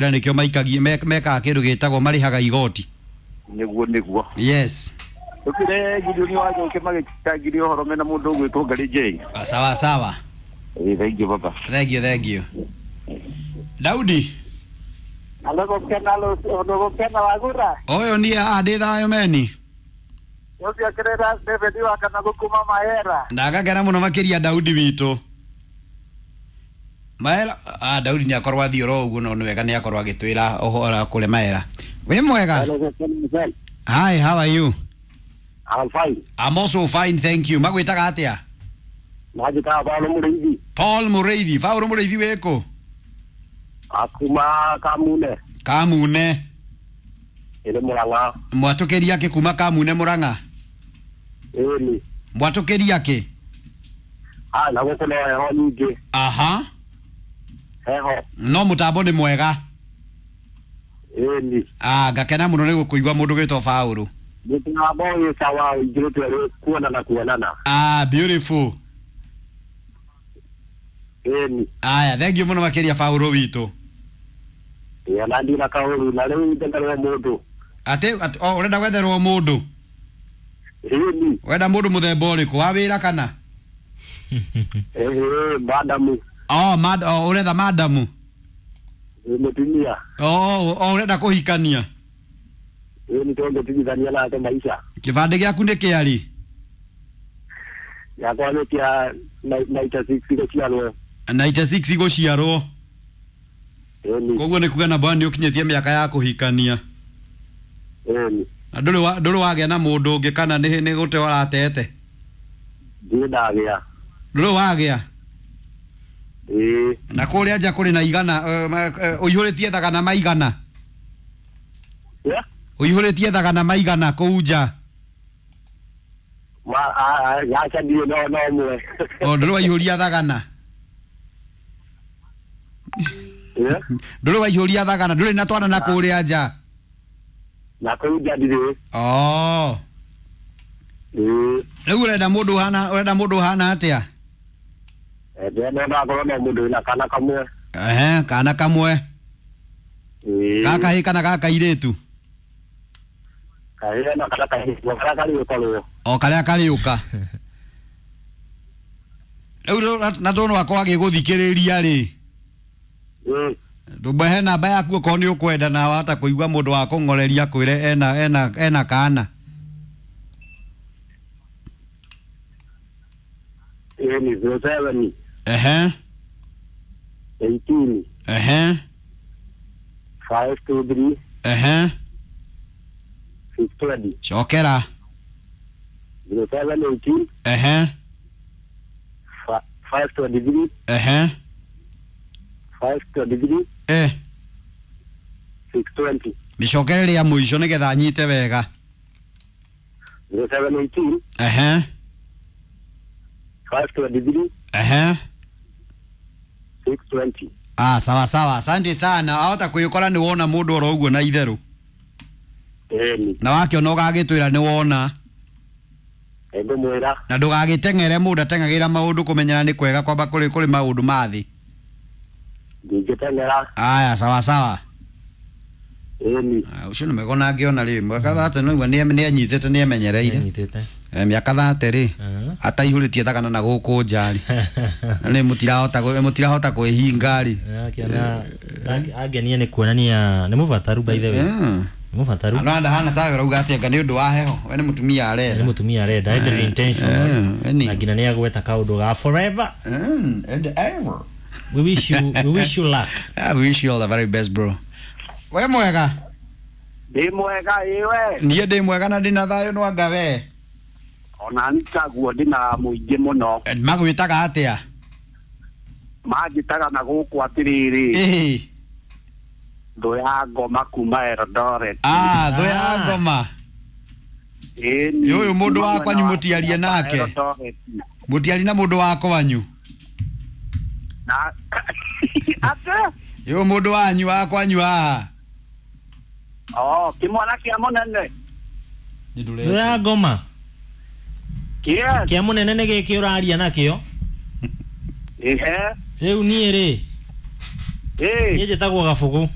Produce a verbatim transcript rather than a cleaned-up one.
Nĩkĩo maikagia mekaga kĩndũ gĩtagwo marĩhaga igoti. Nĩguo nĩguo. Yes. Tukire Gideon wa Njoki magĩtangiria ũhoro mena mũndũ ũgwĩtwo Ngarĩ J. Sawa sawa. Ĩĩ, thank you baba. Thank you, thank you. Daudi. Alogokena alogokena wagura. Ũyũ niĩ haha ndĩ thayũ meni. Ũcio kirera David wa kana gũkuma mahera. Ndagakena mũno makĩria Daudi witũ. Maera, ah, Daudi nĩ akorwo athiĩ oro ũguo no nĩ wega nĩ akorwo agĩtwĩra ũhoro kũrĩ Maera. Wĩ mwega? Hi, how are you? I'm fine. I'm also fine, thank you. Magwĩtaga atĩa? Majĩtaga Paul Mũrĩithi. Paul Mũrĩithi. Paul Mũrĩithi wĩkũ? Akuma Kamune. Kamune. Ĩrĩ Mũrang'a. Mwatũkĩria kĩ kuma Kamune Mũrang'a? Ĩni. Mwatũkĩria kĩ? Ah, na gũkũ no heho nyingĩ. Aha. Heho. No mũtambo nĩ mwega. Ĩni. Ah, ngakena mũno nĩ gũkũigua mũndũ gwĩtwo Paul. Mũtambo wĩ sawa ũingĩrĩte rĩ kuonana kuonana. Ah, beautiful. Ĩni. Aya, thank you mũno makĩria Paul witũ. Ĩĩ, na ndina kaũru na rĩu ndenderwo mũndũ. Atĩ, atĩ oh, ũrenda gwetherwo mũndũ? Ĩni. Wenda mũndũ mũthemba ũrĩkũ wa wĩra kana? Ĩĩ, madamu. Oh, mad, oh, ũretha madamu? Ĩĩ, mũtumia. Oh, oh, ũrenda kũhikania? Ĩĩ, nĩ tũngĩtigithania nake maica. Kĩbandĩ gĩaku nĩ kĩarĩ? Gĩakwa nĩ kĩa ninety six gũciarwo. ninety six gũciarwo. Ĩni. Koguo nĩ kuga namba nĩ ũkinyĩtie mĩaka ya kũhikania. Ĩni. Na ndũrĩ wa, ndũrĩ wagĩa na mũndũ ũngĩ kana nĩ nĩ gũte ũratete? Ndirĩ ndagĩa. Ndũrĩ wagĩa? Ĩĩ. Na kũrĩa nja kũrĩ na igana, ũihũrĩtie thagana maigana? Yeah. Ũihũrĩtie thagana maigana kũu nja? Ma, a, a, gaca ndirĩ no, no ũmwe. O, ndũrĩ waihũria thagana? Yeah. Ndũrĩ waihũria thagana, ndũrĩ na twana na kũrĩa nja? Na kũu nja ndirĩ. Oh. Ĩĩ. Rĩu ũrenda mũndũ ũhana, ũrenda mũndũ ũhana atĩa? Ndĩrenda akorwo na mũndũ wĩna kana kamwe. Ehe, kana kamwe. Ĩĩ. Gaka hĩ kana gaka irĩtu? Kahĩĩ na kana kairĩtu, karĩa karĩũka. O karĩa karĩũka. Rĩu na tondũ akorwo agĩgũthikĩrĩria rĩ. Ĩĩ. Ndũmũhe namba yaku okorwo nĩ ũkwenda na wahota kũigua mũndũ wa kũng'oreria akwĩre ena, ena, ena kana. Ĩĩ, nĩ zero seven. Ehe. Eighteen. Ehe. Five two three. Ehe. Six twenty. Cokera. Zero seven eighteen. Ehe. Five twenty three. Ehe. Five twenty three. Eh. Six twenty. Mĩcokere rĩa mũico nĩgetha nyite wega. Zero seven eighteen. Ehe. Five twenty three. Ehe. Six twenty. Ah, sawa sawa. Asante sana. Ahota kwĩkora nĩ wona mũndũ oro ũguo na itherũ. Ĩni. Na wakĩona ũgagĩtwĩra nĩ wona. Ngũmwĩra. Na ndũgagĩteng'ere mũndũ ateng'agĩra maũndũ kũmenyera nĩ kwega kwamba kũrĩ kũrĩ maũndũ ma thĩ. Ndingĩteng'era. Aya, sawa sawa. Ĩni. Ũcio nĩ mwega ona angĩona rĩ, mwaka thate no igua nĩ anyitĩte nĩ emenyereire. Nĩanyitĩte. Eh, mĩaka thate rĩ, ataihũrĩtie thagana na gũkũ nja rĩ. Na nĩ mũtirahota mũtirahota kwĩhinga rĩ. Akĩona angenia nĩ kuonania nĩ mũbataru by the way. Mm. Nĩ mũbataru. No ndahana tawe ũrauga atĩ anga nĩ ũndũ wa heho, we nĩ mũtumia arenda. Nĩ mũtumia arenda, every intention. Eh, Na nginya nĩ agweta kaũndũ ga forever. Mm, and ever. We wish you, we wish you luck. Yeah, we wish you all the very best, bro. We mwega? Ndĩ mwega ĩwe. Niĩ ndĩ mwega na ndĩna thayũ no anga we. Ona niĩ taguo ndĩna mũingĩ mũno. Magwĩtaga atĩa? Manjĩtaga na gũkũ atĩrĩrĩ. Ĩĩ. Thũ ya ngoma kuma Eldoret. Ah, thũ ya ngoma. Ĩni. Ũyũ mũndũ wa kwanyu mũtiarie nake. Mũtiarie na mũndũ wa kwanyu. Na atĩ? Ũyũ mũndũ wanyu wa kwanyu haha. Oh, kĩmwana kĩa mũnene. Thũ ya ngoma. Yes. Kĩa mũnene nĩ gĩkĩ ũraria nakĩo? Ehe. Rĩu niĩ rĩ. Ĩĩ. Niĩ njĩtagwo Gabugu.